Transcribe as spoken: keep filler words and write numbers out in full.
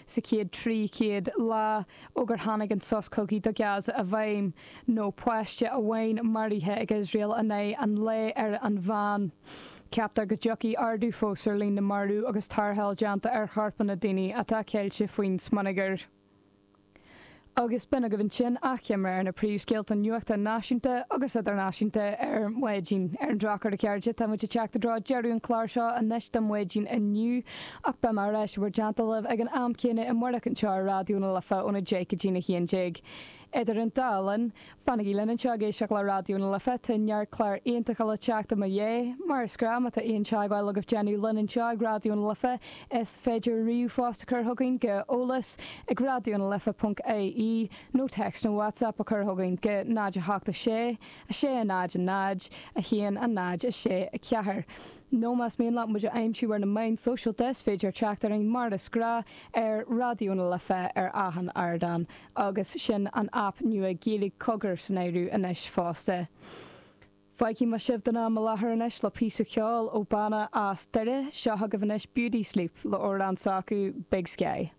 sa chéad trí chéad lá ó gur tháinig an sos cogaidh do Gaza i bhfeidhm, nó páiste amháin maraithe ag Iosrael in aghaidh an lae ar an mheán. Ceaptar go dtiocfaidh ardú fós ar líon na marbh agus tarrtháil déanta ar chorpanna daoine atá ceilte faoin smionagar. Agus b'in agaibh ansin achoimre ar na príomhscéalta nuachta náisiúnta agus idirnáisiúnta ar maidin. Ar an drochuair, a chairde, tá muid ag teacht i dtreo deireadh an chláir seo anois do maidin inniu, ach beidh mé ar ais i bhur dteannta libh ag an am céanna amárach anseo ar Raidió na Life óna deich go dtína haon déag. Idir an dá linn, fanaigí linn anseo ag éisteacht le Raidió na Life, tá neart clár iontacha le teacht i mo dhiaidh. Mar is gnáth, má tá aon teagmháil agaibh déanamh linn anseo ag Raidió na Life, is féidir ríomhphost a chur chugainn go eolas ag raidionalife ponc ie nó téacs nó WhatsApp a chur chugainn go náid a hocht a sé, a sé a náid a náid, a haon a náid a sé a ceathair. Nó más mian leat muid a aimsiú ar na meáin sóisialta, is féidir teacht orainn mar is gnáth ar Raidió na Life ar achan ardán, agus sin an aip nua Gaeilge Cogar san áireamh anois fosta. Fágfaidh mé sibh don am i láthair anois le píosa ceoil ó banna as Doire, seo chugaibh anois Beauty Sleep le amhrán s'acu Big Sky.